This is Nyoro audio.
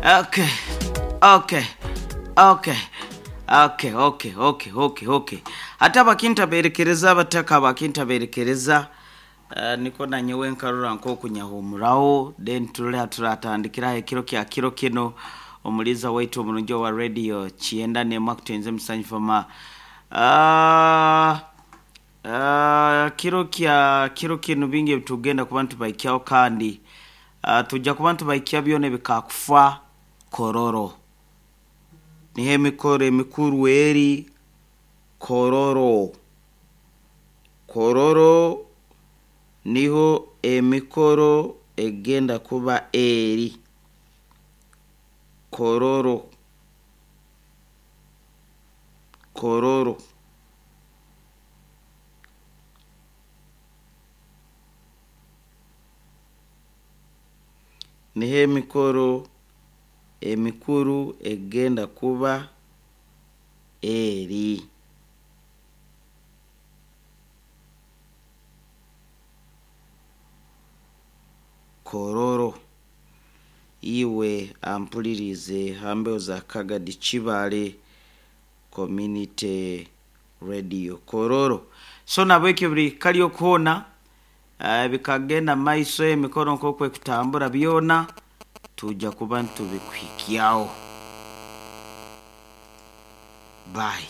Okay, okay, okay, okay, okay, okay, okay, okay. Ate abakintabeerekereza, abataka abakintabeerekereza, niko nanyowe nkarora nk'okunyahumuraho, then turole turatandikiraho ekiro kya kiro kino. Omuliza waitu omurungi owa radio kyenda nemu akutenze musanyufama. Kiro kya kiro kino bingi ebitugenda kuba nitubaikyaho, kandi tujja kuba nitubaikya byona ebikakufa Kororo. Niho emikoro emikuru eri Kororo. Kororo niho emikoro egenda kuba eri Kororo. Kororo. Niho emikoro emikuru egenda kuba eri. Kororo. Iwe ampulirize hambeho za Kagadi Kibale Community Radio Kororo. So nabwekyo buli kali okuhoona, bikagenda maiso, emikoro nk'oku ekutambura byona tujja kuba ntubikuhikyaho. Bye.